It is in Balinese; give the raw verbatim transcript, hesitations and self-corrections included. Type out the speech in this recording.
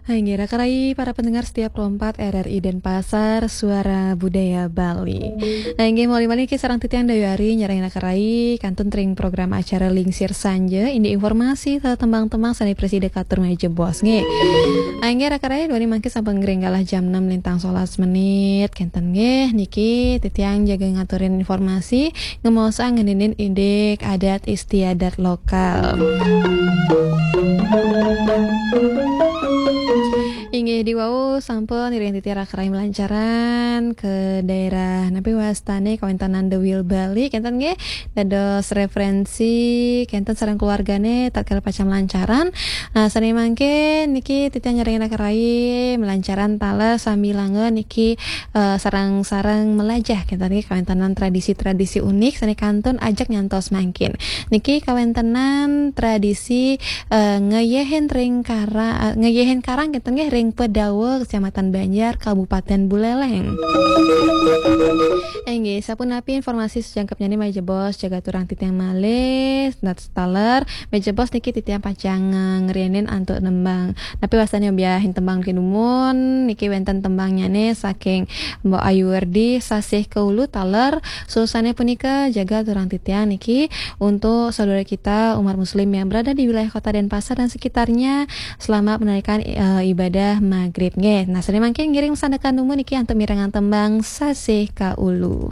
Inggih, raka rai para pendengar setia Pro empat R R I Denpasar, Suara Budaya Bali. Inggih, malih malih niki sareng titiang Dayu Ari nyarengin raka rai kantun ring program acara Lingsir Sanja, indik informasi saha tembang-tembang sane prasida katur malih jebos nggih. Inggih, raka rai duaning mangkin sampun ngring galah jam enam lintang solas menit. Kenten nggih, niki titiang jaga ngaturin informasi, ngemaosang ngeninin indik adat istiadat lokal. Inggih, diwau sampun ngiring titiang raka rai malancaran ka daerah napi wastane kawentenan The Wheel Bali, kenten nggih, dados referensi kenten sareng keluargane tatkala pacang malancaran. Nah, sane mangkin niki titiang nyarengin raka rai malancaran taler sambilanga niki eh, sareng-sareng melajah kenten niki kawentenan tradisi-tradisi unik sane kantun ajak nyantos mangkin. Niki kawentenan tradisi eh, ngeyehin ring kara, eh, ngeyehin karang kenten nggih ring Pedawa, Kecamatan Banjar, Kabupaten Buleleng. Inggih, sapunapi informasi sajangkepnyane malih jebos jaga aturang titiang malih, nah, taler malih jebos niki titiang pacang eh, ngriinin antuk nembang. Napi wastane obiahin tembang niki dumun, niki wenten tembangnyane saking Mbok Ayu Werdi, Sasih Kaulu taler. Suksma punika jaga aturang titiang niki untuk saudara kita umat muslim yang berada di wilayah Kota Denpasar dan sekitarnya, selamat menunaikan eh, ibadah maghrib nggih. Nah, sane mangkin ngiring sandekan dumun niki antuk mirengang tembang Sasih Kaulu.